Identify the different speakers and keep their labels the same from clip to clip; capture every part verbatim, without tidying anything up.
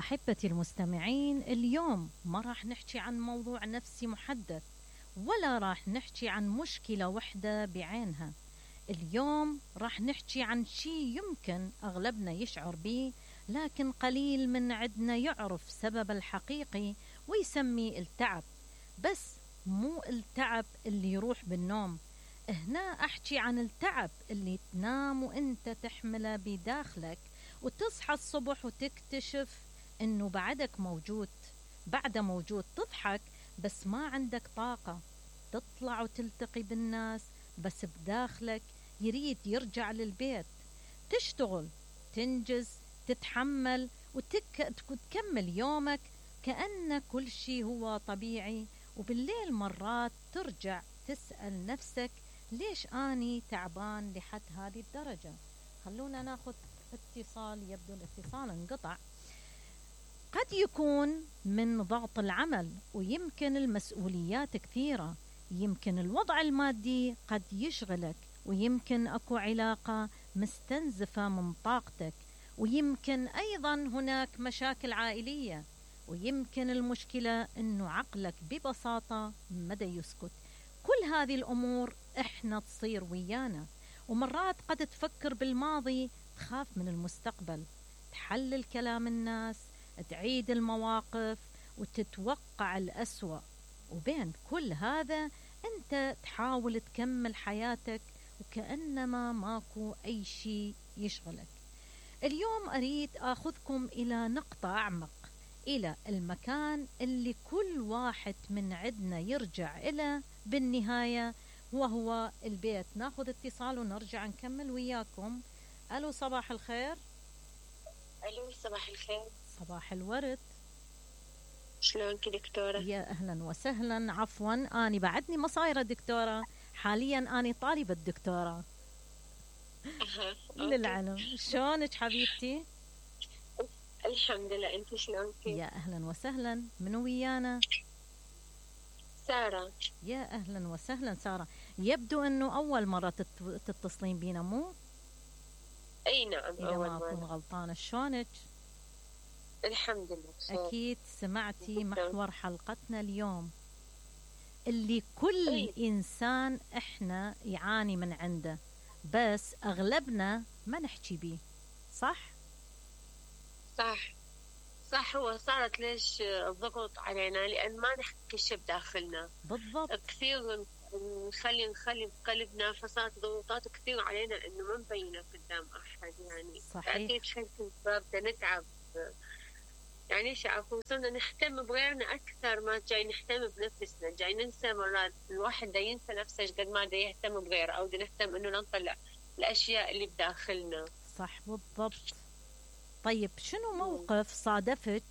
Speaker 1: أحبتي المستمعين، اليوم ما راح نحكي عن موضوع نفسي محدد، ولا راح نحكي عن مشكلة وحدة بعينها. اليوم راح نحكي عن شيء يمكن أغلبنا يشعر به، لكن قليل من عندنا يعرف سبب الحقيقي ويسميه التعب. بس مو التعب اللي يروح بالنوم، هنا أحكي عن التعب اللي تنام وإنت تحمله بداخلك، وتصحى الصبح وتكتشف إنه بعدك موجود، بعده موجود. تضحك بس ما عندك طاقة، تطلع وتلتقي بالناس بس بداخلك يريد يرجع للبيت. تشتغل، تنجز، تتحمل وتك... وتكمل يومك كأن كل شيء هو طبيعي. وبالليل مرات ترجع تسأل نفسك ليش أني تعبان لحد هذه الدرجة. خلونا ناخذ اتصال، يبدو الاتصال انقطع. قد يكون من ضغط العمل، ويمكن المسؤوليات كثيرة، يمكن الوضع المادي قد يشغلك، ويمكن أكو علاقة مستنزفة من طاقتك، ويمكن أيضا هناك مشاكل عائلية، ويمكن المشكلة أنه عقلك ببساطة مدى يسكت. كل هذه الأمور إحنا تصير ويانا، ومرات قد تفكر بالماضي، تخاف من المستقبل، تحلل كلام الناس، تعيد المواقف وتتوقع الأسوأ. وبين كل هذا أنت تحاول تكمل حياتك وكأنما ماكو أي شيء يشغلك. اليوم أريد أخذكم إلى نقطة أعمق، إلى المكان اللي كل واحد من عندنا يرجع إلى بالنهاية، وهو البيت. ناخذ اتصال ونرجع نكمل وياكم. ألو، صباح الخير.
Speaker 2: ألو، صباح الخير.
Speaker 1: صباح الورد.
Speaker 2: شلونك دكتورة؟
Speaker 1: يا أهلا وسهلا. عفوا أنا بعدني ما صايرة دكتورة، حاليا أنا طالبة دكتورة.
Speaker 2: أها.
Speaker 1: للعلم. شلونك حبيبتي؟
Speaker 2: الحمد لله، أنت شلونك؟
Speaker 1: يا أهلا وسهلا. منو ويانا؟
Speaker 2: سارة.
Speaker 1: يا أهلا وسهلا سارة. يبدو أنه أول مرة تت... تتصلين بينا، مو؟
Speaker 2: أي نعم،
Speaker 1: إذا ما أكون غلطانة. شلونك؟
Speaker 2: الحمد لله بخير.
Speaker 1: أكيد سمعتي محور حلقتنا اليوم اللي كل
Speaker 2: أي.
Speaker 1: إنسان إحنا يعاني من عنده، بس أغلبنا ما نحكي بيه. صح؟
Speaker 2: صح صح. هو صارت ليش الضغط علينا؟ لأن ما نحكي شيء بداخلنا.
Speaker 1: بالضبط.
Speaker 2: كثير نخلي نخلي بقلبنا، فصارت ضغوطات كثير علينا إنه ما نبينها قدام أحد. يعني
Speaker 1: صحيح.
Speaker 2: أكيد شيء بدنا نتعب، يعني شعفوا صرنا نهتم بغيرنا أكثر ما جاي نهتم بنفسنا. جاي ننسى مرات، الواحد دا ينسى نفسه قد ما دا يهتم بغيره، أو دا نهتم إنه نطلع الأشياء اللي بداخلنا.
Speaker 1: صح بالضبط. طيب شنو موقف صادفك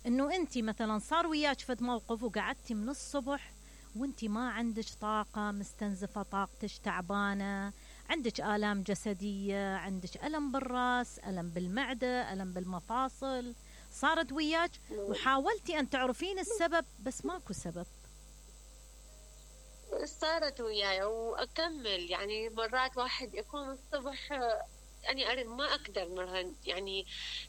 Speaker 1: إنه أنتي مثلا صار وياك فد موقف وقعدتي من الصبح وأنتي ما عندك طاقة، مستنزفة طاقتك، تعبانة، عندك آلام جسدية، عندك ألم بالرأس، ألم بالمعدة، ألم بالمفاصل، صارت وياك وحاولتي أن تعرفين السبب بس ماكو سبب؟
Speaker 2: صارت وياي وأكمل. يعني مرات واحد يكون الصبح يعني أرد ما أقدر مرهن، يعني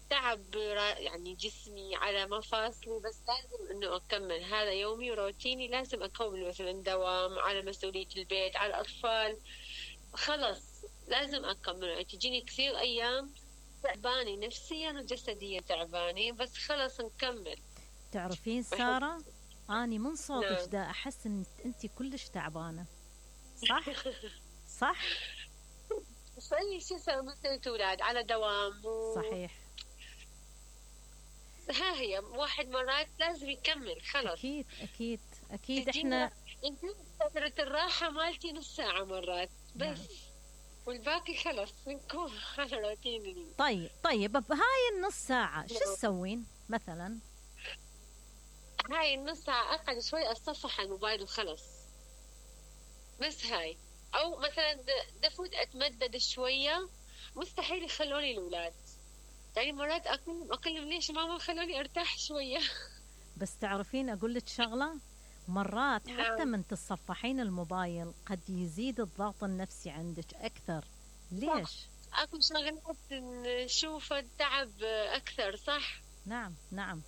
Speaker 2: تعب يعني جسمي على مفاصلي، بس لازم إنه أكمل. هذا يومي وروتيني، لازم أكمل مثلا دوام على مسؤولية البيت، على الأطفال، خلص لازم أكمل. تجيني كثير أيام تعباني نفسيا وجسديا تعباني، بس خلص نكمل.
Speaker 1: تعرفين سارة، أني من صوتك
Speaker 2: نعم.
Speaker 1: دا أحس إن أنتي كلش تعبانة. صح؟ صح؟
Speaker 2: صحيح. شو صار؟ مثل أولاد على دوام و...
Speaker 1: صحيح.
Speaker 2: ها هي واحد مرات لازم يكمل. خلص.
Speaker 1: أكيد أكيد أكيد. إحنا
Speaker 2: فترة الراحة مالتي نص ساعة مرات بس. نعم. والباقي خلص نكون على روتيني.
Speaker 1: طيب طيب بهاي النص ساعة شو تسوين مثلا؟
Speaker 2: هاي النص ساعة أقعد شوي أتصفح الموبايل وخلص، بس هاي. أو مثلا دفوت أتمدد شوية، مستحيل يخلوني الأولاد. يعني مرات أقول أقول ليش ماما خلوني أرتاح شوية.
Speaker 1: بس تعرفين أقول لك شغلة، مرات حتى
Speaker 2: نعم.
Speaker 1: من تصفحين الموبايل قد يزيد الضغط النفسي عندك أكثر. ليش؟
Speaker 2: أكو شغلات نشوف التعب أكثر. صح.
Speaker 1: نعم نعم.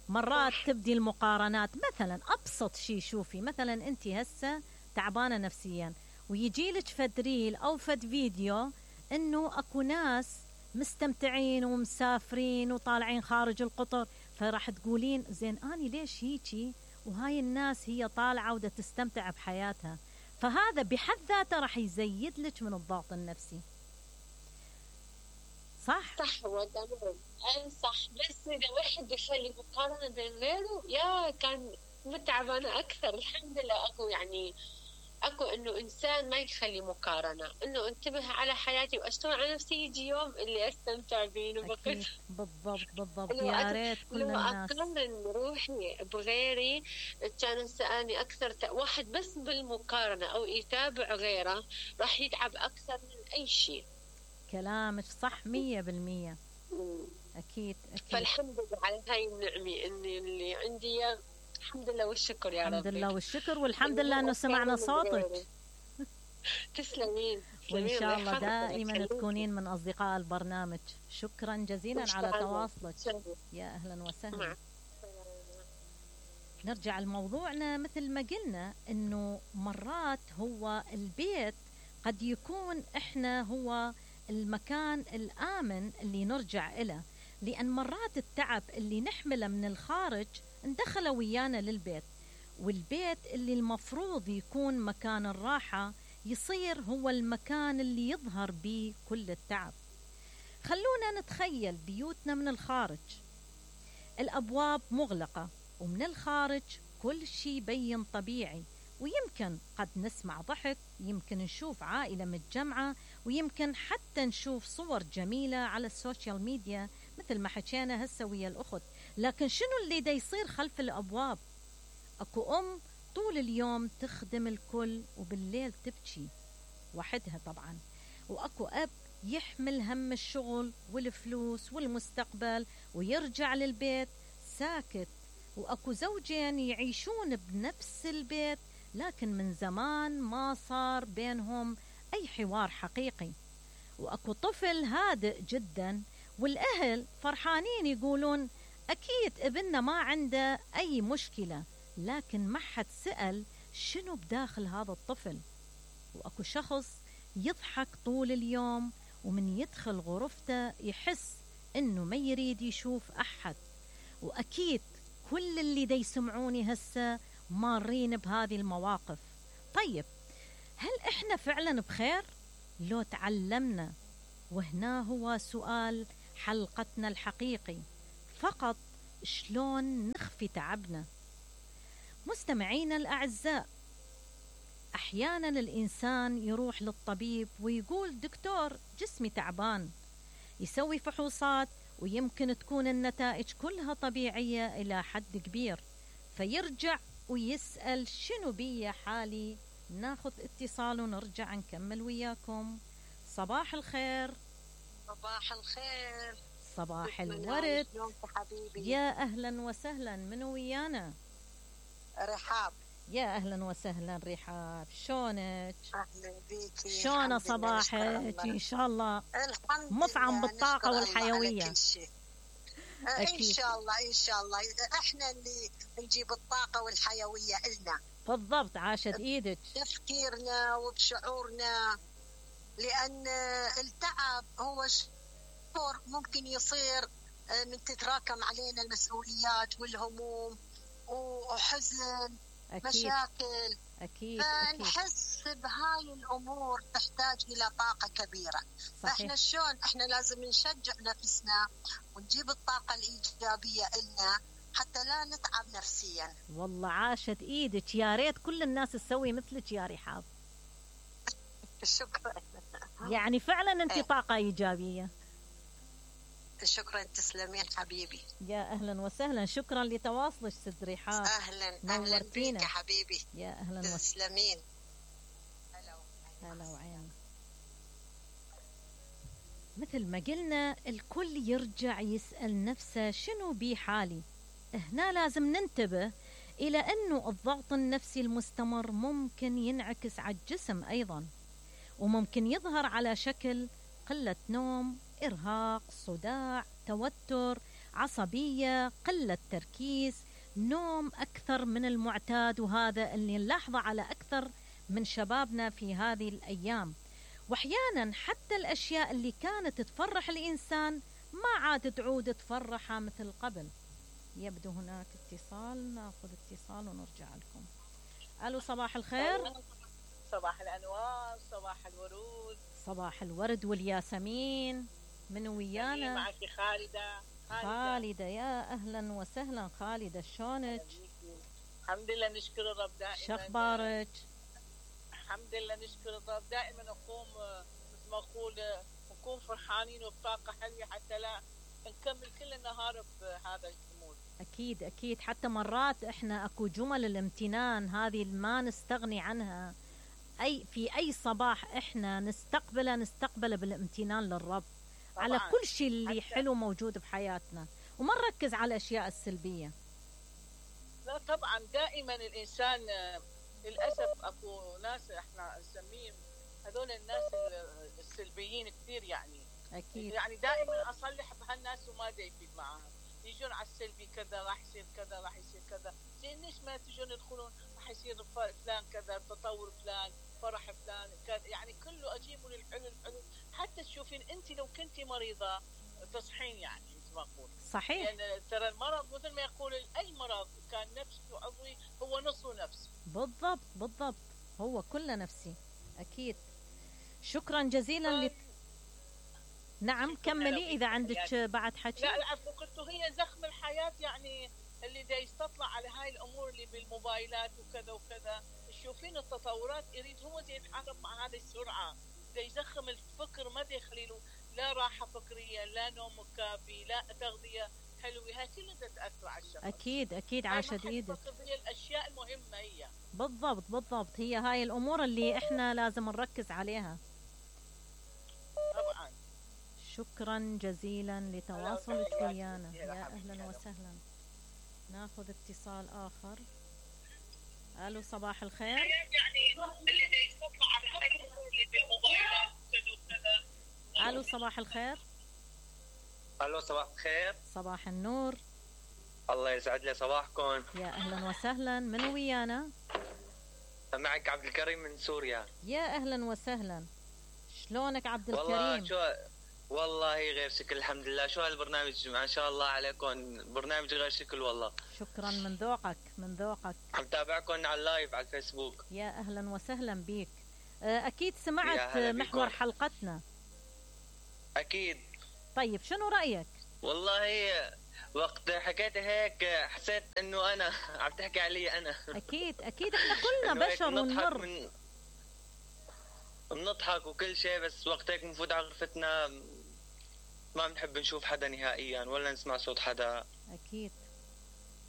Speaker 1: مرات
Speaker 2: صح.
Speaker 1: تبدي المقارنات، مثلا أبسط شيء، شوفي مثلا أنت هسه تعبانة نفسيا ويجي لك فد ريل أو فد فيديو أنه أكو ناس مستمتعين ومسافرين وطالعين خارج القطر، فراح تقولين زين أني ليش هيجي وهاي الناس هي طالعة ودا تستمتع بحياتها. فهذا بحد ذاته راح يزيد لك من الضغط النفسي. صح؟
Speaker 2: صح هو تمام. أي صح، بس إذا واحد يخلي مقارنة بين غيره يا كان متعبانة أكثر. الحمد لله أكو يعني أكو إنه إنسان ما يخلي مقارنة، إنه انتبه على حياتي وأشتغل على نفسي، يجي يوم اللي أستمتع فيه وبقيت.
Speaker 1: أكيد. بالضبط بالضبط. يا ريت كل الناس.
Speaker 2: لو أقارن روحي بغيري كان سألني أكثر ت... واحد بس بالمقارنة أو يتابع غيره راح يتعب أكثر من أي شيء.
Speaker 1: كلامك صح مية بالمية. أكيد أكيد.
Speaker 2: فالحمد لله على هاي النعمة إني اللي عندي، الحمد لله والشكر يا رب.
Speaker 1: الحمد لله والشكر، والحمد لله أنه سمعنا صوتك.
Speaker 2: تسلمين.
Speaker 1: وإن شاء الله دائما تكونين من أصدقاء البرنامج. شكرا جزيلا على تواصلك. يا أهلا وسهلا. نرجع لموضوعنا. مثل ما قلنا أنه مرات هو البيت قد يكون إحنا هو المكان الآمن اللي نرجع إله، لأن مرات التعب اللي نحمله من الخارج ندخله ويانا للبيت، والبيت اللي المفروض يكون مكان الراحة يصير هو المكان اللي يظهر به كل التعب. خلونا نتخيل بيوتنا من الخارج، الأبواب مغلقة ومن الخارج كل شيء بين طبيعي، ويمكن قد نسمع ضحك، يمكن نشوف عائلة متجمعة، ويمكن حتى نشوف صور جميلة على السوشيال ميديا مثل ما حكينا هسه ويا الأخت. لكن شنو اللي دا يصير خلف الأبواب؟ أكو أم طول اليوم تخدم الكل وبالليل تبكي وحدها طبعا، وأكو أب يحمل هم الشغل والفلوس والمستقبل ويرجع للبيت ساكت، وأكو زوجين يعيشون بنفس البيت لكن من زمان ما صار بينهم أي حوار حقيقي، وأكو طفل هادئ جدا والأهل فرحانين يقولون أكيد ابننا ما عنده أي مشكلة، لكن ما حد سأل شنو بداخل هذا الطفل. وأكو شخص يضحك طول اليوم ومن يدخل غرفته يحس إنه ما يريد يشوف أحد. وأكيد كل اللي دا يسمعوني هسه مارين بهذه المواقف. طيب هل إحنا فعلا بخير لو تعلمنا؟ وهنا هو سؤال حلقتنا الحقيقي، فقط شلون نخفي تعبنا. مستمعينا الأعزاء، أحيانا الإنسان يروح للطبيب ويقول دكتور جسمي تعبان، يسوي فحوصات ويمكن تكون النتائج كلها طبيعية إلى حد كبير، فيرجع ويسأل شنو بي حالي. ناخذ اتصال ونرجع نكمل وياكم. صباح الخير.
Speaker 2: صباح الخير.
Speaker 1: صباح الورد. يا أهلا وسهلا، من ويانا؟
Speaker 3: رحاب.
Speaker 1: يا أهلا وسهلا رحاب، شلونك؟
Speaker 3: أهلا بيكي.
Speaker 1: شلون صباحك؟ إن شاء الله
Speaker 3: الحمد
Speaker 1: مفعم
Speaker 3: لله.
Speaker 1: بالطاقة والحيوية.
Speaker 3: إن شاء الله إن شاء الله إحنا اللي نجيب الطاقة والحيوية إلنا.
Speaker 1: بالضبط، عاشت إيدك.
Speaker 3: تفكيرنا وبشعورنا، لأن التعب هو شعور ممكن يصير من تتراكم علينا المسؤوليات والهموم وحزن. أكيد. مشاكل.
Speaker 1: أكيد.
Speaker 3: فنحس بهاي الأمور تحتاج إلى طاقة كبيرة. صحيح. فإحنا شلون إحنا لازم نشجع نفسنا ونجيب الطاقة الإيجابية إلنا حتى لا نتعب نفسيا.
Speaker 1: والله عاشت إيدك، يا ريت كل الناس تسوي مثلك يا رحاب.
Speaker 3: شكرا.
Speaker 1: يعني فعلا أنت طاقة إيجابية.
Speaker 3: شكرا، تسلمين حبيبي.
Speaker 1: يا أهلا وسهلا، شكرا لتواصلك ست رحاب.
Speaker 3: أهلا أهلا بيك يا حبيبي.
Speaker 1: يا أهلا وسهلا.
Speaker 3: تسلمين.
Speaker 1: هلا وعين. مثل ما قلنا الكل يرجع يسأل نفسه شنو بي حالي. هنا لازم ننتبه إلى أنه الضغط النفسي المستمر ممكن ينعكس على الجسم أيضا، وممكن يظهر على شكل قلة نوم، إرهاق، صداع، توتر، عصبية، قلة تركيز، نوم أكثر من المعتاد، وهذا اللي نلاحظه على أكثر من شبابنا في هذه الأيام. وأحيانا حتى الأشياء اللي كانت تفرح الإنسان ما عاد تعود تفرحه مثل قبل. يبدو هناك اتصال، ناخذ اتصال ونرجع لكم. ألو، صباح الخير.
Speaker 4: صباح الأنوار، صباح الورود.
Speaker 1: صباح الورد والياسمين. من ويانا؟
Speaker 4: معك خالدة.
Speaker 1: خالدة. خالدة، يا أهلا وسهلا خالدة، شلونك؟
Speaker 4: الحمد لله، نشكر الرب دائما.
Speaker 1: شخبارك؟
Speaker 4: الحمد لله نشكر الرب دائما. نقوم مثل ما أقول نكون فرحانين وبطاقة حلوة حتى لا نكمل كل النهار بهذا الأمور.
Speaker 1: أكيد أكيد، حتى مرات إحنا أكو جمل الامتنان هذه ما نستغني عنها. أي في أي صباح إحنا نستقبله نستقبله بالامتنان للرب طبعاً. على كل شيء اللي حلو موجود بحياتنا، وما نركز على الأشياء السلبية.
Speaker 4: لا طبعا، دائما الإنسان للأسف أكو ناس إحنا نسميهم هذول الناس السلبيين كثير يعني.
Speaker 1: أكيد.
Speaker 4: يعني دائما أصلح بهالناس وما دا يفيد معاهم، يجون على السلبي كذا راح يصير كذا راح يصير كذا. زين ليش ما تجون يدخلون راح يصير فلان كذا، تطور فلان، فرح فلان كذا، يعني كله أجيبه للحلو الحلو. حتى تشوفين أنت لو كنتي مريضة تصحين يعني مثل ما أقول.
Speaker 1: صحيح.
Speaker 4: يعني ترى المرض مثل ما يقول أي مرض كان نفسي وعضوي هو نصه نفسي.
Speaker 1: بالضبط بالضبط، هو كله نفسي. أكيد. شكرا جزيلا. ل... نعم كملي إذا عندك بعد حكي.
Speaker 4: لا العفو، قلت هي زخم الحياة يعني اللي دا يستطلع على هاي الأمور اللي بالموبايلات وكذا وكذا. تشوفين التطورات يريد هو دا يتحرك مع هذه السرعة، دا يزخم الفكر، ما دا يخليله لا راحة فكرية، لا نوم كافي، لا تغذية حلوة. هاي كلها تأثر على الشخص.
Speaker 1: أكيد أكيد، عاشت إيدك.
Speaker 4: هي الأشياء المهمة هي.
Speaker 1: بالضبط بالضبط، هي هاي الأمور اللي إحنا لازم نركز عليها.
Speaker 4: طبعا.
Speaker 1: شكرا جزيلا لتواصلك ويانا، يا أهلا وسهلا. ناخذ اتصال آخر. ألو، صباح الخير. ألو، صباح الخير.
Speaker 5: ألو، صباح الخير.
Speaker 1: صباح النور.
Speaker 5: الله يسعد لي صباحكم.
Speaker 1: يا أهلا وسهلا. من ويانا؟
Speaker 5: معك عبد الكريم من سوريا.
Speaker 1: يا أهلا وسهلا. شلونك عبد الكريم؟
Speaker 5: والله شو والله غير شكل، الحمد لله. شو هالبرنامج ما شاء الله عليكم، برنامج غير شكل والله.
Speaker 1: شكرا، من ذوقك من ذوقك.
Speaker 5: عم تابعكم على اللايف على الفيسبوك.
Speaker 1: يا أهلا وسهلا بيك. أكيد سمعت محور حلقتنا.
Speaker 5: أكيد.
Speaker 1: طيب شنو رأيك؟
Speaker 5: والله وقت حكيت هيك حسيت انه انا عم تحكي علي انا.
Speaker 1: اكيد اكيد، احنا كلنا بشر ونمر
Speaker 5: من... بنضحك وكل شيء، بس وقت هيك بنفوت على غرفتنا ما بنحب نشوف حدا نهائيا ولا نسمع صوت حدا.
Speaker 1: اكيد.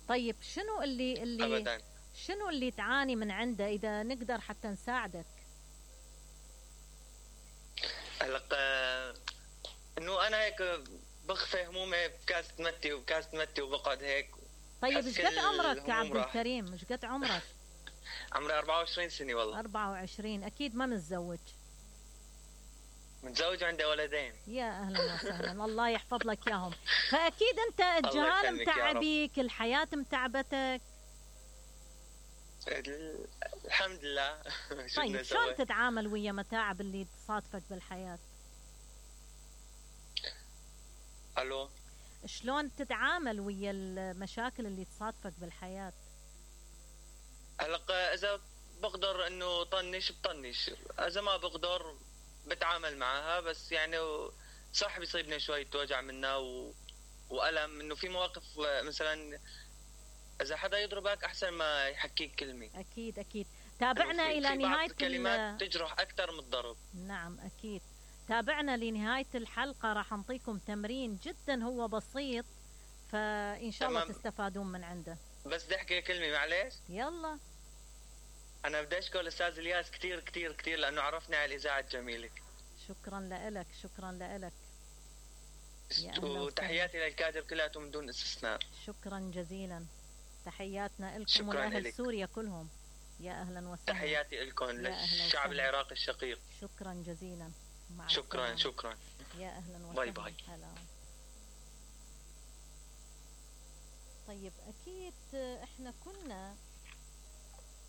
Speaker 1: طيب شنو اللي اللي
Speaker 5: أبداً.
Speaker 1: شنو اللي تعاني من عنده اذا نقدر حتى نساعدك؟
Speaker 5: هلا انه انا هيك بخفي همومي بكاسة متي وبكاسة متي وبقعد هيك.
Speaker 1: طيب ايش قد عمرك يا عبد الكريم؟ ايش قد عمرك؟
Speaker 5: عمري أربعة وعشرين سنة والله.
Speaker 1: أربعة وعشرين. اكيد ما متزوج؟
Speaker 5: متزوج وعندي ولدين.
Speaker 1: يا اهلا وسهلا، الله يحفظ لك اياهم. فاكيد انت الجهال متعبيك، الحياة متعبتك.
Speaker 5: الحمد لله.
Speaker 1: طيب شلون تتعامل ويا متاعب اللي تصادفك بالحياة؟
Speaker 5: الو،
Speaker 1: شلون تتعامل ويا المشاكل اللي تصادفك بالحياة؟
Speaker 5: هلا اذا بقدر انه طنش بطنش، اذا ما بقدر بتعامل معها. بس يعني صح بيصيبني شوية وجع منها و... وألم، انه في مواقف مثلا اذا حدا يضربك احسن ما يحكيك كلمة.
Speaker 1: اكيد اكيد. تابعنا الى
Speaker 5: في
Speaker 1: نهاية
Speaker 5: بعض الكلمات تجرح اكثر من الضرب.
Speaker 1: نعم اكيد. تابعنا لنهاية الحلقة، راح نعطيكم تمرين جدا هو بسيط، فإن شاء الله تستفادون من عنده.
Speaker 5: بس بدي أحكي كلمة معلش.
Speaker 1: يلا.
Speaker 5: أنا بدي أشكر الأستاذ الياس كتير كتير كتير لأنه عرفني على الإذاعة الجميلة.
Speaker 1: شكرا لك، شكرا لك.
Speaker 5: وتحياتي للكادر كلياتهم من دون استثناء.
Speaker 1: شكرا جزيلا. تحياتنا لكم ولأهل سوريا كلهم. يا أهلا وسهلا.
Speaker 5: تحياتي لكم للشعب العراقي الشقيق.
Speaker 1: شكرا جزيلا.
Speaker 5: شكرا شكرا.
Speaker 1: يا أهلا وسهلا.
Speaker 5: باي باي.
Speaker 1: هلا. طيب أكيد إحنا كنا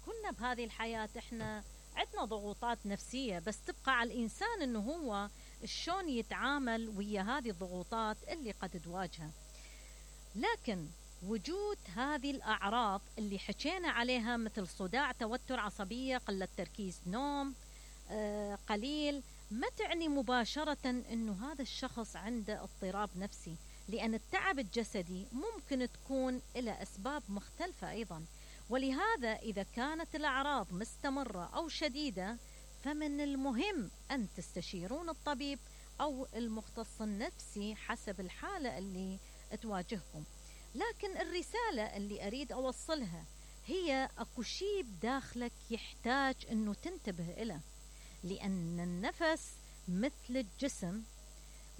Speaker 1: كنا بهذه الحياة إحنا عندنا ضغوطات نفسية، بس تبقى على الإنسان إنه هو شلون يتعامل ويا هذه الضغوطات اللي قد تواجهه. لكن وجود هذه الأعراض اللي حكينا عليها مثل صداع، توتر، عصبية، قلة تركيز، نوم آه قليل، ما تعني مباشرة أنه هذا الشخص عنده اضطراب نفسي، لأن التعب الجسدي ممكن تكون له أسباب مختلفة أيضا. ولهذا إذا كانت الأعراض مستمرة أو شديدة فمن المهم أن تستشيرون الطبيب أو المختص النفسي حسب الحالة اللي تواجهكم. لكن الرسالة اللي أريد أوصلها هي أكو شيء بداخلك يحتاج أنه تنتبه إليه، لأن النفس مثل الجسم،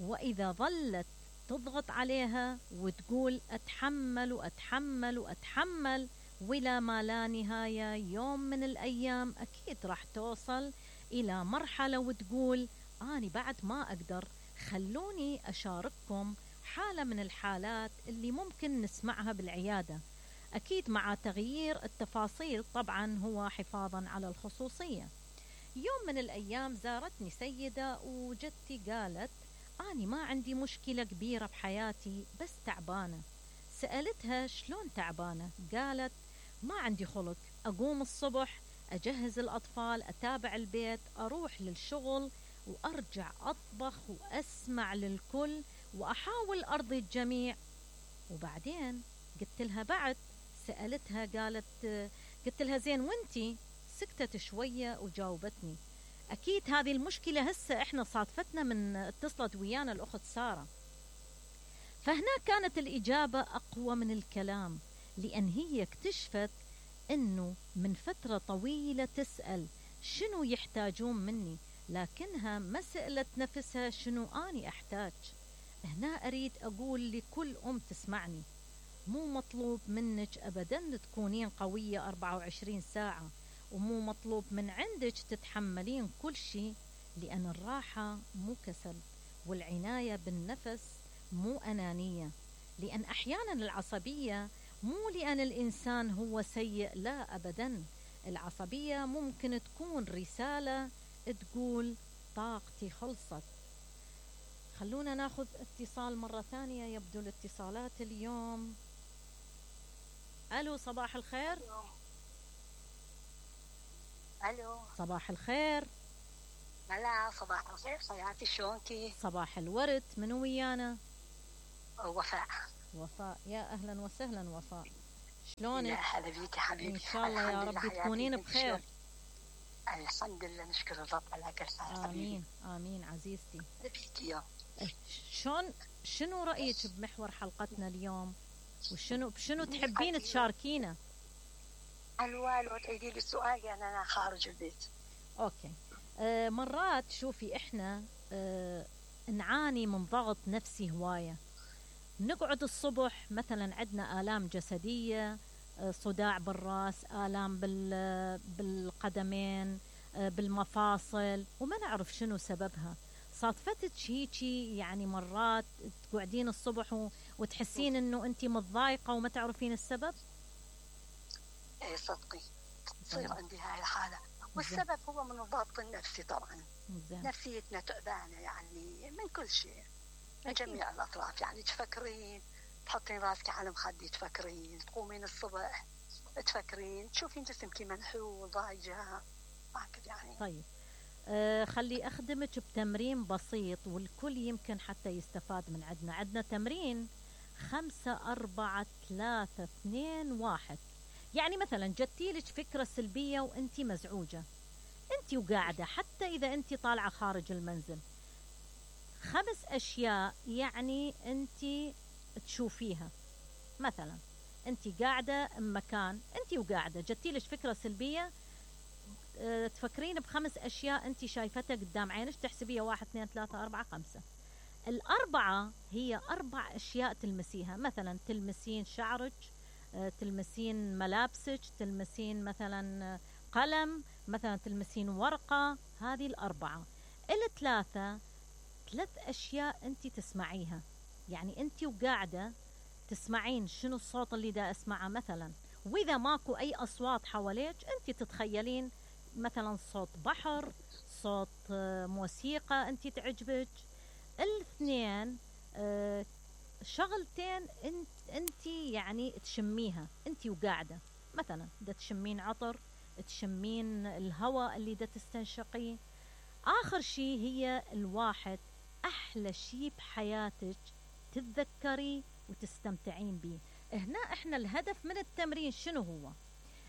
Speaker 1: وإذا ظلت تضغط عليها وتقول أتحمل وأتحمل وأتحمل ولا ما لا نهاية، يوم من الأيام أكيد راح توصل إلى مرحلة وتقول أنا بعد ما أقدر، خلوني أشارككم حالة من الحالات اللي ممكن نسمعها بالعيادة، أكيد مع تغيير التفاصيل طبعا هو حفاظا على الخصوصية. يوم من الأيام زارتني سيدة وجدتي قالت أنا ما عندي مشكلة كبيرة بحياتي بس تعبانة. سألتها شلون تعبانة؟ قالت ما عندي خلق، أقوم الصبح أجهز الأطفال، أتابع البيت، أروح للشغل وأرجع أطبخ وأسمع للكل وأحاول أرضي الجميع. وبعدين قلت لها بعد، سألتها قالت قلت لها زين وانتي؟ سكتت شوية وجاوبتني أكيد هذه المشكلة هسه إحنا صادفتنا من اتصلت ويانا الأخت سارة. فهنا كانت الإجابة أقوى من الكلام، لأن هي اكتشفت أنه من فترة طويلة تسأل شنو يحتاجون مني، لكنها ما سألت نفسها شنو أني أحتاج. هنا أريد أقول لكل أم تسمعني، مو مطلوب منك أبدا تكونين قوية أربعة وعشرين ساعة، ومو مطلوب من عندك تتحملين كل شيء، لأن الراحة مو كسل، والعناية بالنفس مو أنانية. لأن أحيانا العصبية مو لأن الإنسان هو سيء، لا أبدا، العصبية ممكن تكون رسالة تقول طاقتي خلصت. خلونا ناخذ اتصال مرة ثانية، يبدو الاتصالات اليوم. ألو صباح الخير.
Speaker 3: ألو
Speaker 1: صباح الخير.
Speaker 3: ملا صباح الخير حياتي، شلونكي؟
Speaker 1: صباح الورد، منو ويانا؟
Speaker 3: وفاء.
Speaker 1: وفاء، يا أهلا وسهلا وفاء، شلونك؟
Speaker 3: يا هلا بيكي حبيبي.
Speaker 1: إن شاء الله يا رب تكونين بخير.
Speaker 3: الحمد لله، نشكر الرب على كل حال.
Speaker 1: آمين آمين عزيزتي.
Speaker 3: بيكي يا
Speaker 1: شلون شنو رأيك بمحور حلقتنا اليوم؟ وشنو بشنو تحبين تشاركينا؟
Speaker 3: الو الو تعيدي لي السؤال لأن أنا خارج البيت.
Speaker 1: أوكي. آه مرات شوفي إحنا آه نعاني من ضغط نفسي هواية، نقعد الصبح مثلا عندنا آلام جسدية، آه صداع بالرأس، آلام بالقدمين، آه بالمفاصل، وما نعرف شنو سببها. صادفتك هيجي يعني مرات تقعدين الصبح وتحسين انه انت متضايقة وما تعرفين السبب؟
Speaker 3: ايه صدقي تصير عندي هاي الحالة، والسبب هو من الضغط النفسي طبعا.
Speaker 1: زين.
Speaker 3: نفسيتنا تعبانة يعني من كل شيء، من جميع الأطراف، يعني تفكرين تحطين راسك على مخدي، تفكرين تقومين الصبح تفكرين تشوفين جسمك منحول ضايجة هكذا يعني.
Speaker 1: طيب آه خلي أخدمك بتمرين بسيط والكل يمكن حتى يستفاد من عندنا. عندنا تمرين خمسة أربعة ثلاثة اثنين واحد. يعني مثلا جتيلك فكرة سلبية وانتي مزعوجة، انتي وقاعدة، حتى إذا انتي طالعة خارج المنزل، خمس أشياء يعني انتي تشوفيها. مثلا انتي قاعدة مكان، انتي وقاعدة جتيلك فكرة سلبية، اه تفكرين بخمس أشياء انتي شايفتها قدام عينك، تحسبيها واحد اثنين ثلاثة أربعة خمسة. الأربعة هي أربع أشياء تلمسيها، مثلا تلمسين شعرك، تلمسين ملابسك، تلمسين مثلا قلم، مثلا تلمسين ورقة. هذه الأربعة. الثلاثة ثلاث أشياء أنت تسمعيها، يعني أنت وقاعدة تسمعين شنو الصوت اللي دا أسمعه مثلا، وإذا ماكو أي أصوات حواليك أنت تتخيلين مثلا صوت بحر، صوت آه، موسيقى أنت تعجبك. الاثنين آه، شغلتين انت انت يعني تشميها انت وقاعده، مثلا دا تشمين عطر، تشمين الهواء اللي دا تستنشقيه. اخر شيء هي الواحد احلى شيء بحياتك تتذكري وتستمتعين به. هنا احنا الهدف من التمرين شنو هو؟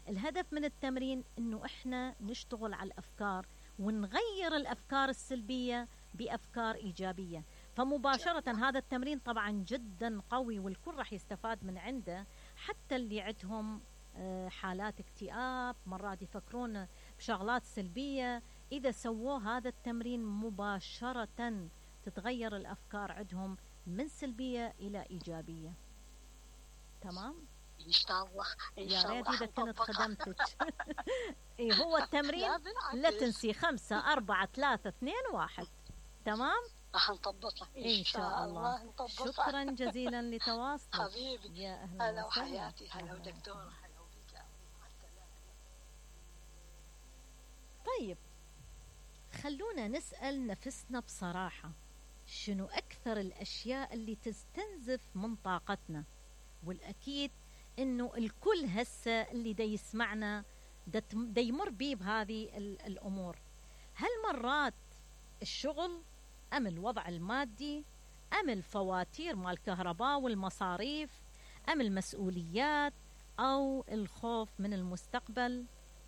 Speaker 1: الهدف من التمرين انه احنا نشتغل على الافكار ونغير الافكار السلبيه بافكار ايجابيه. فمباشرة هذا التمرين طبعا جدا قوي والكل راح يستفاد من عنده، حتى اللي عندهم آه، حالات اكتئاب، مرات يفكرون بشغلات سلبية، إذا سووا هذا التمرين مباشرة تتغير الأفكار عندهم من سلبية إلى إيجابية. تمام؟
Speaker 3: ان شاء الله ان
Speaker 1: يا
Speaker 3: شاء
Speaker 1: ريت
Speaker 3: الله
Speaker 1: إذا كنت
Speaker 3: حنطبقها.
Speaker 1: خدمتك. إيه هو التمرين
Speaker 3: لا بالعكس.
Speaker 1: لا تنسي خمسة أربعة ثلاثة اثنين واحد. تمام؟
Speaker 3: راح نطبقها
Speaker 1: إن شاء الله.
Speaker 3: نطبقها.
Speaker 1: شكرا جزيلا لتواصلك.
Speaker 3: حبيبي،
Speaker 1: يا أهلا
Speaker 3: هلا
Speaker 1: وسهلا.
Speaker 3: وحياتي، هلا
Speaker 1: أهلا.
Speaker 3: ودكتورة، هلا وبك. مع السلامة.
Speaker 1: طيب خلونا نسأل نفسنا بصراحة، شنو أكثر الأشياء اللي تستنزف من طاقتنا؟ والأكيد إنه الكل هسه اللي دا يسمعنا دا تم- دا يمر بيه بهذه ال- الأمور. هل مرات الشغل، أم الوضع المادي، أم الفواتير مال الكهرباء والمصاريف، أم المسؤوليات، أو الخوف من المستقبل؟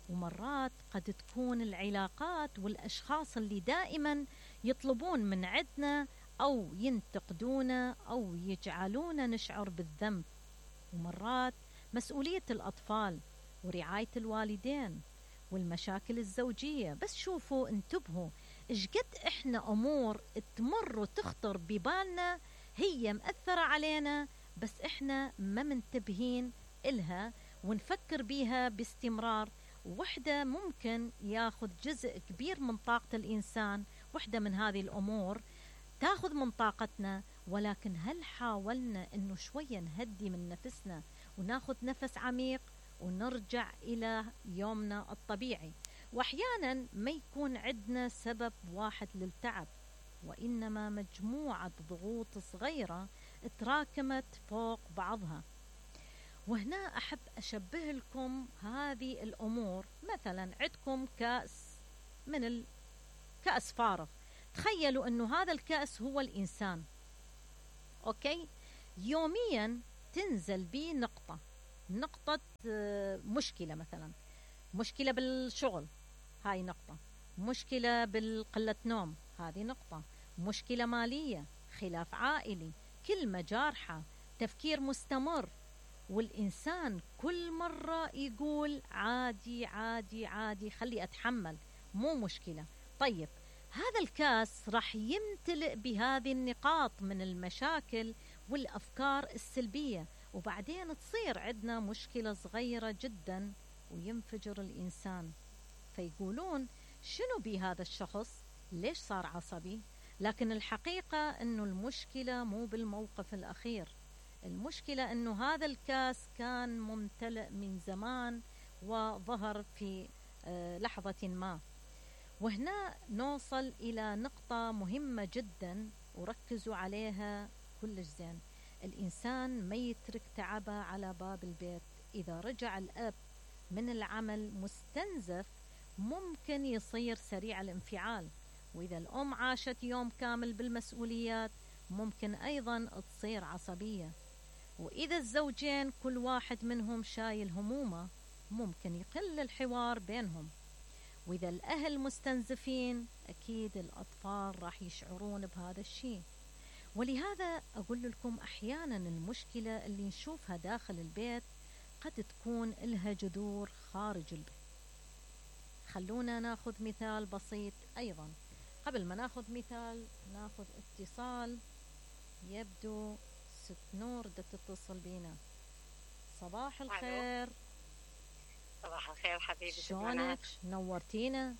Speaker 1: ومرات قد تكون العلاقات والأشخاص اللي دائما يطلبون من عندنا أو ينتقدونا أو يجعلونا نشعر بالذنب. ومرات مسؤولية الأطفال ورعاية الوالدين والمشاكل الزوجية. بس شوفوا انتبهوا إيش قد إحنا أمور تمر وتخطر ببالنا هي مأثرة علينا، بس إحنا ما منتبهين إلها ونفكر بيها باستمرار. وحدة ممكن ياخذ جزء كبير من طاقة الإنسان، وحدة من هذه الأمور تاخذ من طاقتنا. ولكن هل حاولنا إنه شوية نهدي من نفسنا وناخذ نفس عميق ونرجع إلى يومنا الطبيعي؟ وأحيانا ما يكون عندنا سبب واحد للتعب، وإنما مجموعة ضغوط صغيرة تراكمت فوق بعضها. وهنا أحب أشبه لكم هذه الأمور، مثلا عندكم كأس من الكأس فارغ، تخيلوا أنه هذا الكأس هو الإنسان. أوكي، يوميا تنزل بيه نقطة نقطة آه، مشكلة، مثلا مشكلة بالشغل، هاي نقطة، مشكلة بالقلة نوم، هذه نقطة، مشكلة مالية، خلاف عائلي، كلمة جارحة، تفكير مستمر. والإنسان كل مرة يقول عادي عادي عادي، خلي أتحمل، مو مشكلة. طيب هذا الكاس راح يمتلئ بهذه النقاط من المشاكل والأفكار السلبية، وبعدين تصير عندنا مشكلة صغيرة جدا وينفجر الإنسان. فيقولون شنو بهذا الشخص، ليش صار عصبي؟ لكن الحقيقة أنه المشكلة مو بالموقف الأخير، المشكلة أنه هذا الكاس كان ممتلئ من زمان وظهر في آه، لحظة ما. وهنا نوصل إلى نقطة مهمة جدا وركزوا عليها كلش زين. الإنسان ما يترك تعبه على باب البيت. إذا رجع الأب من العمل مستنزف ممكن يصير سريع الانفعال، وإذا الأم عاشت يوم كامل بالمسؤوليات ممكن أيضا تصير عصبية، وإذا الزوجين كل واحد منهم شايل همومه ممكن يقل الحوار بينهم، وإذا الأهل مستنزفين أكيد الأطفال راح يشعرون بهذا الشيء. ولهذا أقول لكم أحيانا المشكلة اللي نشوفها داخل البيت قد تكون لها جذور خارج البيت. خلونا ناخذ مثال بسيط أيضا. قبل ما ناخذ مثال ناخذ اتصال. يبدو ست نور بدها تتصل بينا. صباح الخير.
Speaker 6: صباح الخير حبيبي،
Speaker 1: شلونك؟ نورتينا.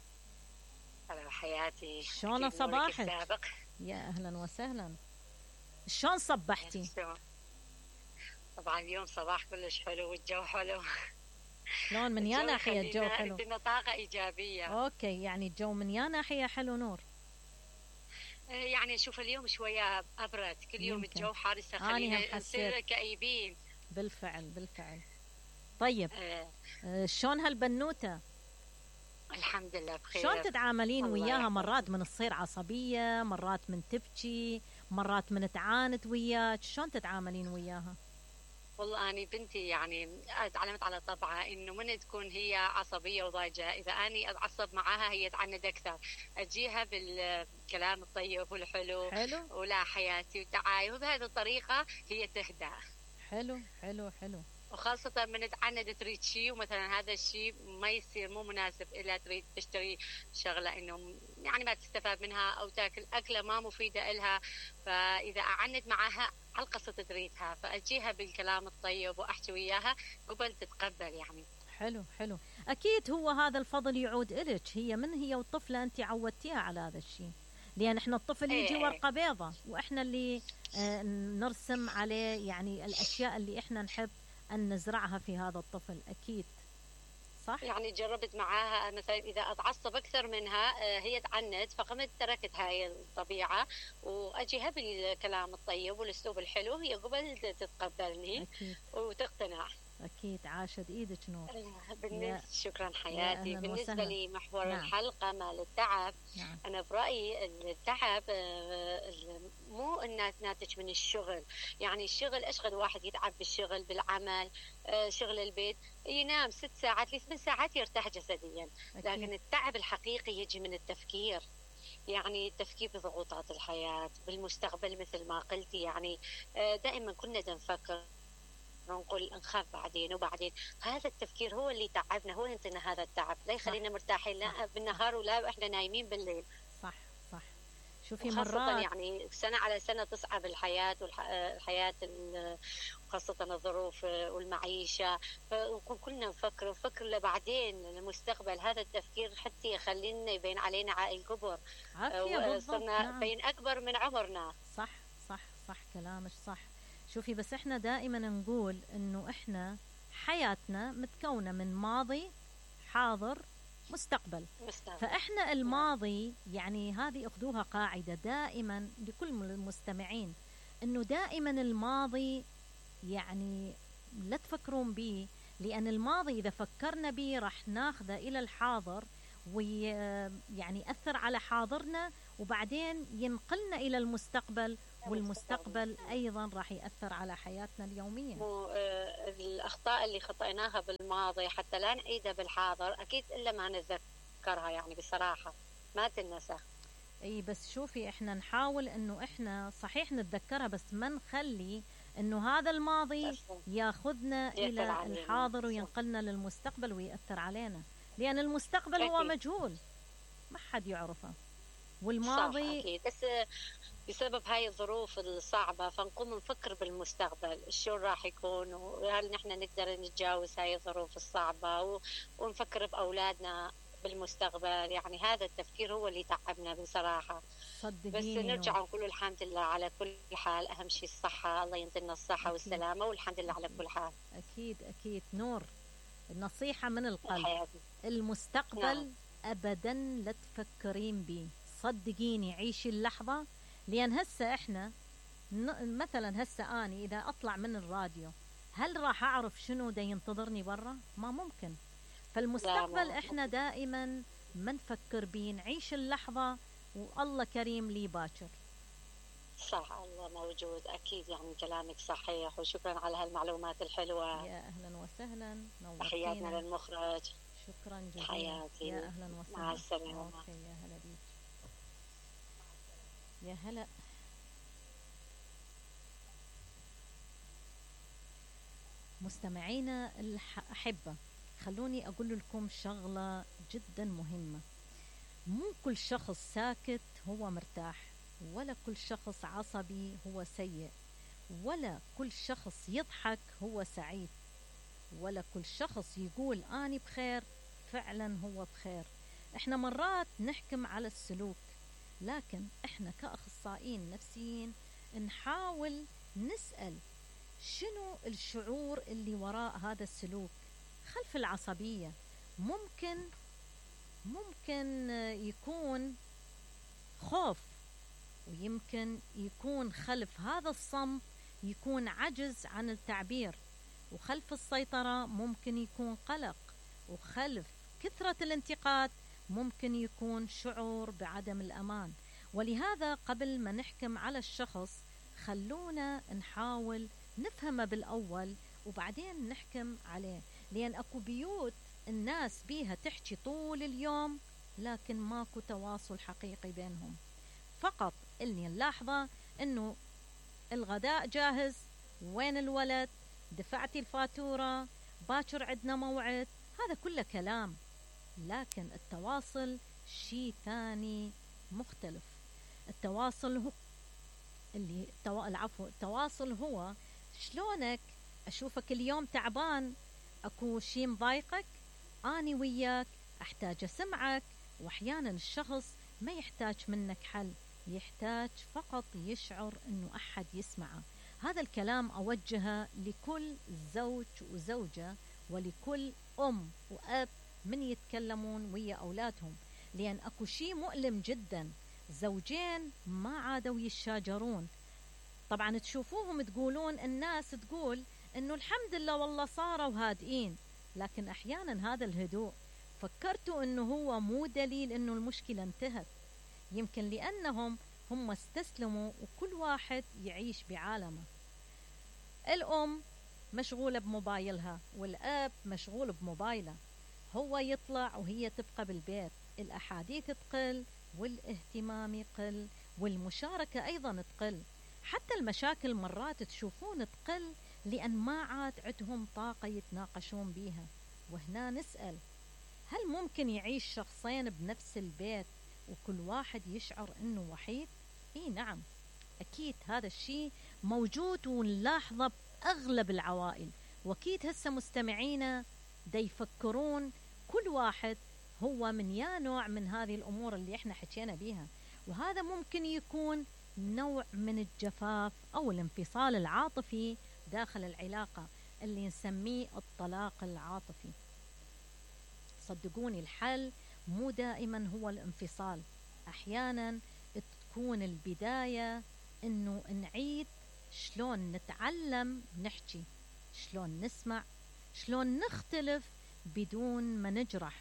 Speaker 6: هلا حياتي،
Speaker 1: شلون صباحك؟ يا أهلا وسهلا. شلون صبحتي؟
Speaker 6: طبعا اليوم صباح كلش حلو والجو حلو.
Speaker 1: شلون من يا ناحية الجو حلو؟
Speaker 6: عندنا طاقة إيجابية.
Speaker 1: اوكي، يعني الجو من يا ناحية حلو نور؟
Speaker 6: يعني شوف اليوم شوية أبرد، كل يوم
Speaker 1: يمكن.
Speaker 6: الجو حار هسه
Speaker 1: أنا
Speaker 6: خلينا
Speaker 1: هم
Speaker 6: نصير
Speaker 1: حسيت.
Speaker 6: كئيبين.
Speaker 1: بالفعل بالفعل. طيب
Speaker 6: آه.
Speaker 1: آه، شلون هالبنوتة؟
Speaker 6: الحمد لله بخير.
Speaker 1: شلون تتعاملين
Speaker 6: الله
Speaker 1: وياها؟
Speaker 6: يحفظها.
Speaker 1: مرات من تصير عصبية، مرات من تبكي، مرات من تعاند وياك، شلون تتعاملين وياها؟
Speaker 6: والله أنا بنتي يعني تعلمت على طبعها إنه من تكون هي عصبية وضايجة، إذا أني أتعصب معاها هي تعند أكثر، أجيها بالكلام الطيب والحلو
Speaker 1: حلو
Speaker 6: ولا حياتي وتعاي، وبهذه الطريقة هي تهدى.
Speaker 1: حلو حلو حلو.
Speaker 6: وخاصة من تعند تريد شيء ومثلا هذا الشيء ما يصير مو مناسب إلا تريد تشتري شغلة إنه يعني ما تستفاد منها أو تاكل أكلة ما مفيدة إلها، فإذا أعند معها على القصة تريدها فأجيها بالكلام الطيب وأحكي وياها قبل تتقبل يعني.
Speaker 1: حلو حلو. أكيد هو هذا الفضل يعود إلك، هي من هي والطفلة أنت عودتيها على هذا الشيء، لأن إحنا الطفل يجي
Speaker 6: إيه.
Speaker 1: ورقة بيضة وإحنا اللي آه، نرسم عليه يعني الأشياء اللي إحنا نحب أن نزرعها في هذا الطفل. أكيد صح؟
Speaker 6: يعني جربت معاها مثلا إذا أتعصب أكثر منها آه، هي تعند، فقمت تركت هاي الطبيعة وأجيها بالكلام الطيب والأسلوب الحلو، هي قبل تتقبلني
Speaker 1: أكيد
Speaker 6: وتقتنع.
Speaker 1: أكيد. عاشت إيدك نور.
Speaker 6: بالنسبة شكرا
Speaker 1: يا
Speaker 6: حياتي.
Speaker 1: أهلاً
Speaker 6: بالنسبة
Speaker 1: وسهلاً.
Speaker 6: لي محور
Speaker 1: نعم.
Speaker 6: الحلقة مال التعب،
Speaker 1: نعم.
Speaker 6: أنا برأيي التعب آه، مو الناس ناتج من الشغل، يعني الشغل أشغل واحد يتعب بالشغل بالعمل آه، شغل البيت ينام ست ساعات لثمان ساعات يرتاح جسديا، لكن
Speaker 1: أكيد.
Speaker 6: التعب الحقيقي يجي من التفكير، يعني التفكير بضغوطات الحياة بالمستقبل مثل ما قلتي، يعني آه، دائما كنا نفكر نقول نخاف بعدين وبعدين، هذا التفكير هو اللي تعبنا، هو اللي ينطينا هذا التعب، لا يخلينا مرتاحين لا بالنهار ولا احنا نايمين بالليل.
Speaker 1: صح صح. شوفي
Speaker 6: خاصة
Speaker 1: مرات
Speaker 6: يعني سنة على سنة تصعب الحياة والحياة خاصة الظروف والمعيشة، فكلنا نفكر نفكر لبعدين المستقبل، هذا التفكير حتى يخلينا يبين علينا عائل كبر،
Speaker 1: عافية بالضبط.
Speaker 6: صرنا
Speaker 1: نعم.
Speaker 6: بين أكبر من عمرنا.
Speaker 1: صح صح صح كلامك صح. شوفي بس احنا دائما نقول انه احنا حياتنا متكونة من ماضي حاضر مستقبل.
Speaker 6: مستقبل.
Speaker 1: فاحنا الماضي يعني هذه اخذوها قاعدة دائما لكل المستمعين، انه دائما الماضي يعني لا تفكرون به، لان الماضي اذا فكرنا به راح ناخذه الى الحاضر ويعني أثر على حاضرنا وبعدين ينقلنا إلى المستقبل، والمستقبل أيضا راح يأثر على حياتنا اليومية.
Speaker 6: مو آه الأخطاء اللي خطأناها بالماضي حتى لا نعيدها بالحاضر أكيد إلا ما نتذكرها، يعني بصراحة ما تنسى.
Speaker 1: اي بس شوفي احنا نحاول انه احنا صحيح نتذكرها بس ما نخلي انه هذا الماضي ياخذنا الى الحاضر وينقلنا للمستقبل ويأثر علينا، لأن المستقبل هو مجهول ما حد يعرفه، والماضي
Speaker 6: صح أكيد. بس بسبب هاي الظروف الصعبة فنقوم نفكر بالمستقبل شو راح يكون، وهل نحن نقدر نتجاوز هاي الظروف الصعبة ونفكر بأولادنا بالمستقبل، يعني هذا التفكير هو اللي تعبنا بصراحة. بس نرجع ونقول الحمد لله على كل حال، أهم شيء الصحة، الله ينزلنا الصحة أكيد. والسلامة، والحمد لله على كل حال.
Speaker 1: أكيد أكيد. نور النصيحة من القلب
Speaker 6: حياتي.
Speaker 1: المستقبل نعم. أبدا لا تفكرين بيه، صدقيني عيشي اللحظة، لأن هسه إحنا مثلا هسه أني إذا أطلع من الراديو هل راح أعرف شنو دا ينتظرني برا؟ ما ممكن. فالمستقبل إحنا دائما ما نفكر بيه، نعيش اللحظة والله كريم لي باكر.
Speaker 6: صح الله موجود أكيد، يعني كلامك صحيح، وشكرا على هالمعلومات الحلوة.
Speaker 1: يا أهلا وسهلا،
Speaker 6: تحياتنا للمخرج.
Speaker 1: شكرا جزيلا.
Speaker 6: حياتي.
Speaker 1: يا أهلا وسهلا.
Speaker 6: مع السلامة.
Speaker 1: أوكي يا هلا بيك. يا هلا. مستمعينا الأحبة، خلوني أقول لكم شغلة جدا مهمة. مو كل شخص ساكت هو مرتاح، ولا كل شخص عصبي هو سيء، ولا كل شخص يضحك هو سعيد، ولا كل شخص يقول أنا بخير فعلا هو بخير. احنا مرات نحكم على السلوك، لكن احنا كأخصائيين نفسيين نحاول نسأل شنو الشعور اللي وراء هذا السلوك؟ خلف العصبية ممكن ممكن يكون خوف، ويمكن يكون خلف هذا الصمت يكون عجز عن التعبير، وخلف السيطرة ممكن يكون قلق، وخلف كثرة الانتقاد ممكن يكون شعور بعدم الأمان. ولهذا قبل ما نحكم على الشخص خلونا نحاول نفهمه بالأول وبعدين نحكم عليه، لأن أكو بيوت الناس بيها تحكي طول اليوم لكن ماكو تواصل حقيقي بينهم، فقط اللي نلاحظه أنه الغداء جاهز، وين الولد، دفعتي الفاتورة، باكر عندنا موعد، هذا كله كلام، لكن التواصل شيء ثاني مختلف. التواصل هو اللي التوا... العفو التواصل هو شلونك أشوفك اليوم تعبان، أكو شيء مضايقك، أني وياك أحتاج أسمعك. وأحيانا الشخص ما يحتاج منك حل، يحتاج فقط يشعر أنه أحد يسمعه. هذا الكلام أوجهه لكل زوج وزوجة ولكل أم وأب من يتكلمون ويا أولادهم، لأن أكو شيء مؤلم جدا، زوجين ما عادوا يتشاجرون. طبعا تشوفوهم تقولون، الناس تقول أنه الحمد لله والله صاروا هادئين، لكن أحيانا هذا الهدوء فكرتوا أنه هو مو دليل أنه المشكلة انتهت، يمكن لأنهم هم استسلموا وكل واحد يعيش بعالمه. الأم مشغولة بموبايلها والأب مشغول بموبايله، هو يطلع وهي تبقى بالبيت، الأحاديث تقل والاهتمام يقل والمشاركة أيضا تقل، حتى المشاكل مرات تشوفون تقل لأن ما عاد عندهم طاقة يتناقشون بيها. وهنا نسأل، هل ممكن يعيش شخصين بنفس البيت وكل واحد يشعر أنه وحيد؟ إيه نعم، أكيد هذا الشيء موجود ونلاحظه بأغلب العوائل، وأكيد هسه مستمعينا دا يفكرون كل واحد هو من يا نوع من هذه الأمور اللي احنا حكينا بيها. وهذا ممكن يكون نوع من الجفاف أو الانفصال العاطفي داخل العلاقة اللي نسميه الطلاق العاطفي. صدقوني الحل مو دائما هو الانفصال، أحيانا تكون البداية إنه نعيد شلون نتعلم نحكي، شلون نسمع، شلون نختلف بدون ما نجرح.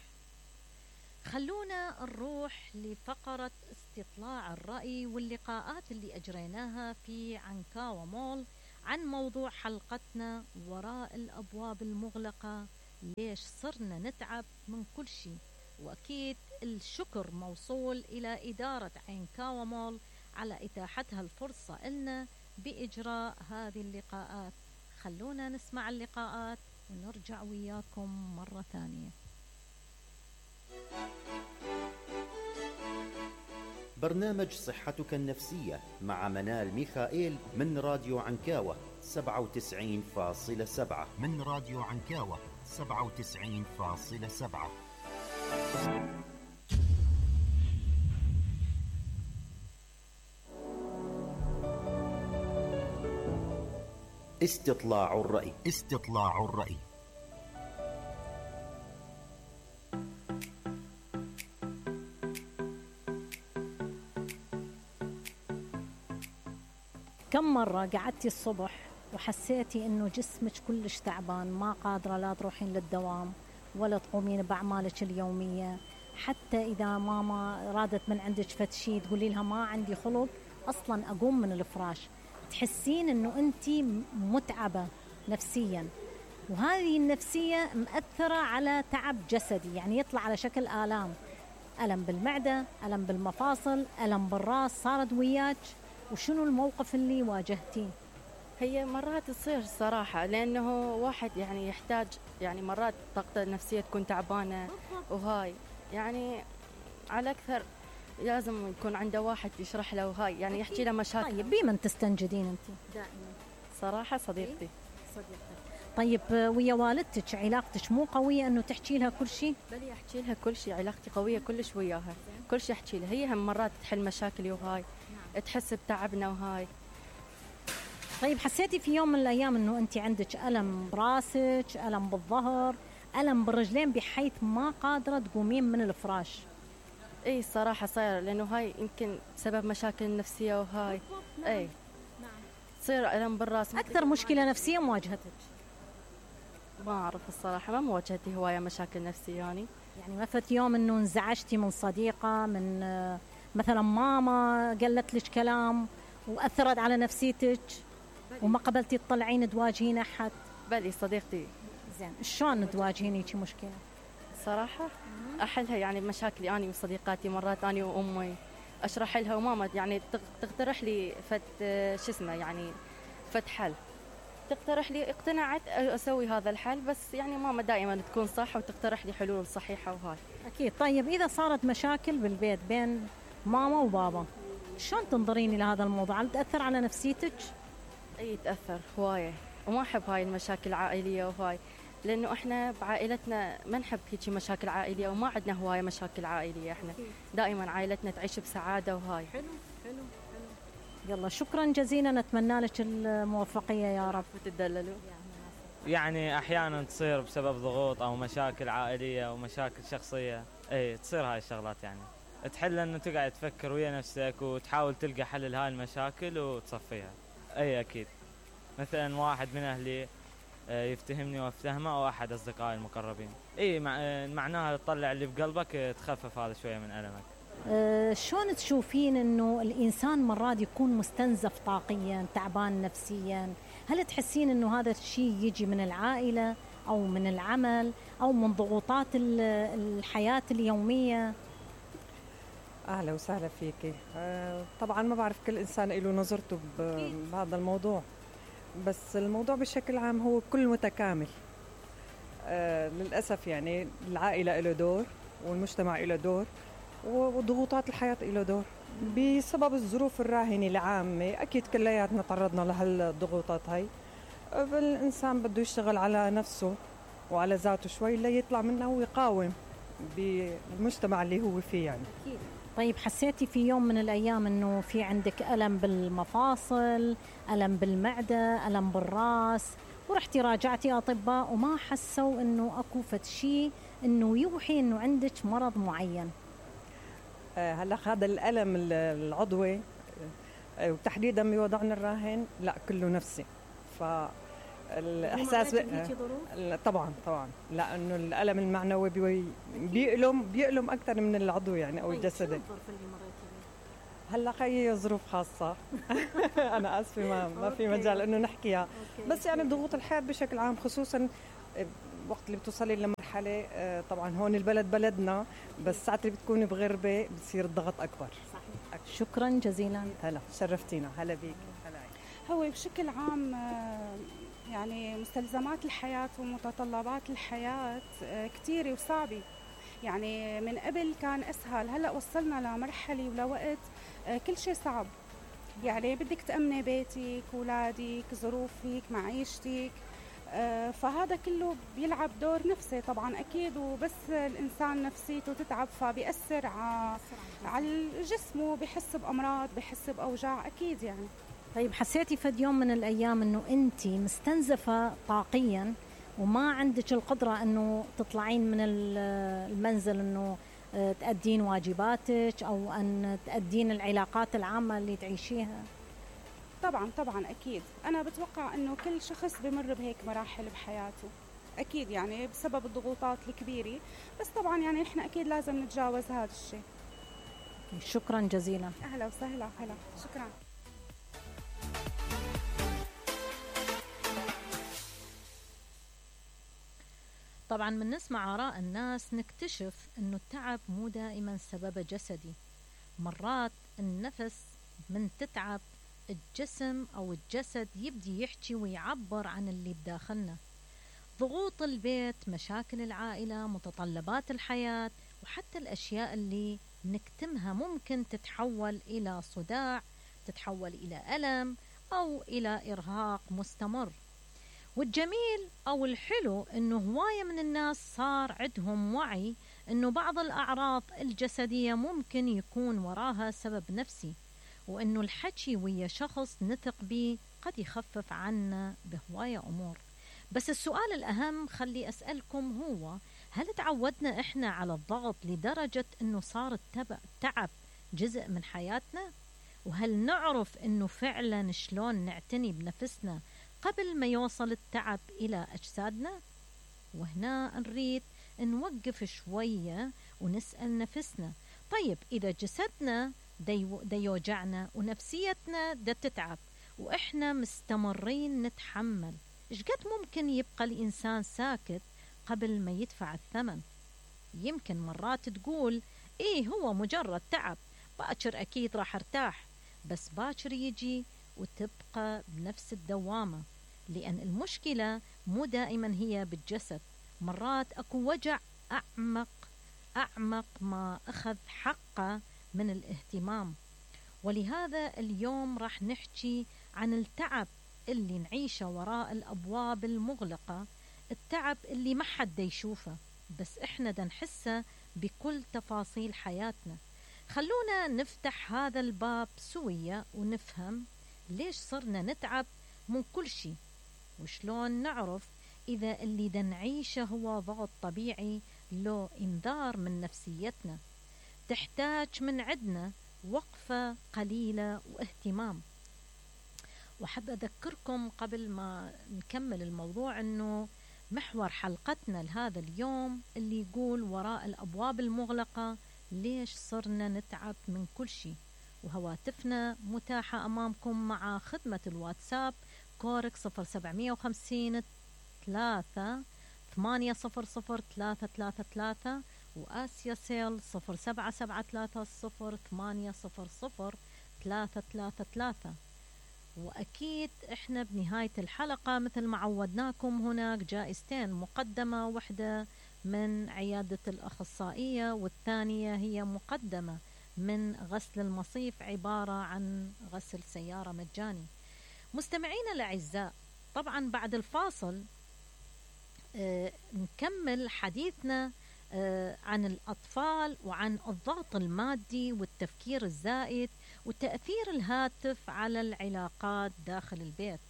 Speaker 1: خلونا نروح لفقرة استطلاع الرأي واللقاءات اللي أجريناها في عنكاوة مول عن موضوع حلقتنا وراء الأبواب المغلقة، ليش صرنا نتعب من كل شيء. وأكيد الشكر موصول إلى إدارة عنكاوة مول على إتاحتها الفرصة لنا بإجراء هذه اللقاءات. خلونا نسمع اللقاءات ونرجع وياكم مرة ثانية.
Speaker 7: برنامج صحتك النفسية مع منال ميخائيل من راديو عنكاوة سبعة وتسعين فاصلة سبعة من راديو عنكاوة سبعة وتسعين فاصلة سبعة. استطلاع الرأي. استطلاع الرأي.
Speaker 1: كم مرة قعدتي الصبح وحسيتي إنه جسمك كلش تعبان، ما قادرة لا تروحين للدوام ولا تقومين بأعمالك اليومية، حتى إذا ماما رادت من عندك فتشي تقولي لها ما عندي خلق أصلا أقوم من الفراش، تحسين إنه أنتي متعبة نفسيا، وهذه النفسية مأثرة على تعب جسدي، يعني يطلع على شكل آلام، ألم بالمعدة، ألم بالمفاصل، ألم بالراس. صارت وياك وشنو الموقف اللي واجهتيه؟
Speaker 8: هي مرات تصير صراحة، لأنه واحد يعني يحتاج، يعني مرات طاقته النفسية تكون تعبانة، وهاي يعني على أكثر لازم يكون عنده واحد يشرح له، وهاي يعني يحكي له مشاكل.
Speaker 1: طيب بمن تستنجدين أنت؟
Speaker 8: دائما صراحة صديقتي.
Speaker 1: صديقتي. طيب ويا والدتك علاقتك مو قوية أنه تحكي لها كل شيء؟
Speaker 8: بل أحكي لها كل شيء، علاقتي قوية كلش وياها، كل شيء أحكي لها، هي هم مرات تحل مشاكلي وهاي، نعم. تحس بتعبنا وهاي.
Speaker 1: طيب حسيتي في يوم من الأيام أنه أنت عندك ألم براسك، ألم بالظهر، ألم بالرجلين بحيث ما قادرة تقومين من الفراش؟
Speaker 8: اي صراحة صاير، لأنه هاي يمكن بسبب مشاكل نفسية وهاي. اي تصير ألم بالراس.
Speaker 1: أكثر مشكلة نفسية مواجهتك؟
Speaker 8: ما أعرف الصراحة، ما مواجهتي هواية مشاكل نفسية يعني.
Speaker 1: يعني ما فات يوم أنه انزعجتي من صديقة، من مثلا ماما قالت لك كلام وأثرت على نفسيتك وما قبلتي تطلعين تواجهين أحد؟
Speaker 8: بلي صديقتي.
Speaker 1: زين، شلون تواجهين هيك مشكلة؟
Speaker 8: صراحة أحلها يعني مشاكلي أنا وصديقاتي، مرات أنا وأمي أشرح لها، وماما يعني تقترح لي فت شو اسمه يعني فت حل، تقترح لي، اقتنعت أسوي هذا الحل. بس يعني ماما دائما تكون صح وتقترح لي حلول صحيحة وهاي.
Speaker 1: أكيد. طيب إذا صارت مشاكل بالبيت بين ماما وبابا، شلون تنظرين إلى هذا الموضوع؟ هل تأثر على نفسيتك؟
Speaker 8: أي تأثر هواية، وما أحب هاي المشاكل العائلية وهاي، لأنه إحنا بعائلتنا ما نحب هيك مشاكل عائلية، وما عندنا هواية مشاكل عائلية. إحنا دائما عائلتنا تعيش بسعادة وهاي.
Speaker 1: حلو حلو حلو. يلا شكرا جزيلا، نتمنى لك الموفقية يا رب
Speaker 8: وتدللوا.
Speaker 9: يعني أحيانا تصير بسبب ضغوط أو مشاكل عائلية أو مشاكل شخصية، أي تصير هاي الشغلات. يعني تحل أنه تقعد تفكر ويا نفسك وتحاول تلقى حل لهاي المشاكل وتصفيها. أي أكيد، مثلا واحد من أهلي يفتهمني وافتهمه، أو أحد أصدقائي المقربين. إيه معناها تطلع اللي بقلبك، تخفف هذا شوية من ألمك.
Speaker 1: أه شلون تشوفين أنه الإنسان مرات يكون مستنزف طاقيا، تعبان نفسيا؟ هل تحسين أنه هذا الشيء يجي من العائلة أو من العمل أو من ضغوطات الحياة اليومية؟
Speaker 10: أهلا وسهلا فيكي. أه طبعا ما بعرف، كل إنسان له نظرته بهذا الموضوع، بس الموضوع بشكل عام هو كل متكامل. أه للأسف يعني العائلة له دور، والمجتمع له دور، وضغوطات الحياة له دور. بسبب الظروف الراهنة العامة أكيد كلياتنا تعرضنا لهالضغوطات هاي. الإنسان بده يشتغل على نفسه وعلى ذاته شوي ليطلع منها ويقاوم بالمجتمع اللي هو فيه يعني.
Speaker 1: أكيد. طيب حسيتي في يوم من الأيام أنه في عندك ألم بالمفاصل، ألم بالمعدة، ألم بالرأس، ورحتي راجعتي أطباء وما حسوا أنه أكو فد شيء أنه يوحي أنه عندك مرض معين؟
Speaker 10: آه هلا هذا الألم العضوي آه وتحديدا بوضعنا الراهن لا كله نفسي. فالإحساس آه طبعا طبعا لأنه الألم المعنوي بيألم بيألم أكثر من العضوي يعني أو الجسدي. هلا خي ظروف خاصة أنا آسفة ما ما في مجال إنه نحكيها، بس يعني ضغوط الحياة بشكل عام، خصوصا وقت اللي بتوصلي لمرحلة طبعا هون البلد بلدنا، بس ساعة اللي بتكوني بغربة بتصير الضغط أكبر.
Speaker 1: صحيح. شكرا جزيلا.
Speaker 10: هلا شرفتينا. هلا بيك. هلا.
Speaker 11: هو بشكل عام يعني مستلزمات الحياة ومتطلبات الحياة كتيرة وصعبة. يعني من قبل كان أسهل، هلأ وصلنا لمرحلة ولوقت كل شيء صعب. يعني بدك تأمني بيتك، أولادك، ظروفك، معيشتك، فهذا كله بيلعب دور نفسي طبعا أكيد. وبس الإنسان نفسيته تتعب فبيأثر على جسمه، بحس بأمراض، بحس بأوجاع أكيد يعني.
Speaker 1: طيب حسيتي فد يوم من الأيام أنه أنت مستنزفة طاقيا وما عندك القدرة أنه تطلعين من المنزل، أنه تأدين واجباتك أو أن تأدين العلاقات العامة اللي تعيشيها؟
Speaker 11: طبعا طبعا أكيد. أنا بتوقع أنه كل شخص بمر بهيك مراحل بحياته أكيد، يعني بسبب الضغوطات الكبيرة. بس طبعا يعني إحنا أكيد لازم نتجاوز هذا الشيء.
Speaker 1: شكرا جزيلا.
Speaker 11: أهلا وسهلا. هلا شكرا.
Speaker 1: طبعا من نسمع آراء الناس نكتشف أنه التعب مو دائما سبب جسدي. مرات النفس من تتعب الجسم أو الجسد يبدي يحكي ويعبر عن اللي بداخلنا. ضغوط البيت، مشاكل العائلة، متطلبات الحياة، وحتى الأشياء اللي نكتمها ممكن تتحول إلى صداع، تتحول إلى ألم أو إلى إرهاق مستمر. والجميل أو الحلو أنه هواية من الناس صار عندهم وعي أنه بعض الأعراض الجسدية ممكن يكون وراها سبب نفسي، وأنه الحكي ويا شخص نثق به قد يخفف عنا بهواية أمور. بس السؤال الأهم خلي أسألكم هو: هل تعودنا إحنا على الضغط لدرجة أنه صار التعب جزء من حياتنا؟ وهل نعرف أنه فعلا شلون نعتني بنفسنا قبل ما يوصل التعب إلى أجسادنا؟ وهنا نريد نوقف شوية ونسأل نفسنا: طيب إذا جسدنا دا يوجعنا ونفسيتنا دا تتعب وإحنا مستمرين نتحمل، إيش قد ممكن يبقى الإنسان ساكت قبل ما يدفع الثمن؟ يمكن مرات تقول إيه هو مجرد تعب، باكر أكيد راح ارتاح، بس باكر يجي وتبقى بنفس الدوامة، لأن المشكلة مو دائما هي بالجسد، مرات أكو وجع أعمق أعمق ما أخذ حقه من الاهتمام. ولهذا اليوم راح نحكي عن التعب اللي نعيشه وراء الأبواب المغلقة، التعب اللي ما حد يشوفه بس إحنا دا نحسه بكل تفاصيل حياتنا. خلونا نفتح هذا الباب سوية ونفهم ليش صرنا نتعب من كل شيء، وشلون نعرف إذا اللي دا نعيشه هو ضغط طبيعي لو إنذار من نفسيتنا تحتاج من عندنا وقفة قليلة واهتمام. وحب أذكركم قبل ما نكمل الموضوع أنه محور حلقتنا لهذا اليوم اللي يقول وراء الأبواب المغلقة ليش صرنا نتعب من كل شيء. وهواتفنا متاحة أمامكم مع خدمة الواتساب كورك صفر سبعمية وخمسين ثلاثة ثمانية صفر صفر ثلاثة ثلاثة ثلاثة، وآسيا سيل صفر سبعة سبعة ثلاثة صفر ثمانية صفر صفر ثلاثة ثلاثة ثلاثة. وأكيد إحنا بنهاية الحلقة مثل ما عودناكم هناك جائزتين، مقدمة واحدة من عيادة الأخصائية والثانية هي مقدمة من غسل المصيف، عبارة عن غسل سيارة مجاني. مستمعينا الأعزاء، طبعا بعد الفاصل آه نكمل حديثنا آه عن الأطفال وعن الضغط المادي والتفكير الزائد وتأثير الهاتف على العلاقات داخل البيت.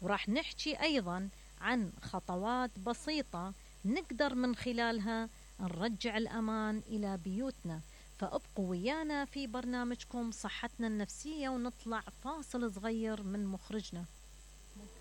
Speaker 1: وراح نحكي أيضا عن خطوات بسيطة نقدر من خلالها نرجع الأمان إلى بيوتنا. فأبقوا ويانا في برنامجكم صحتنا النفسية، ونطلع فاصل صغير من مخرجنا.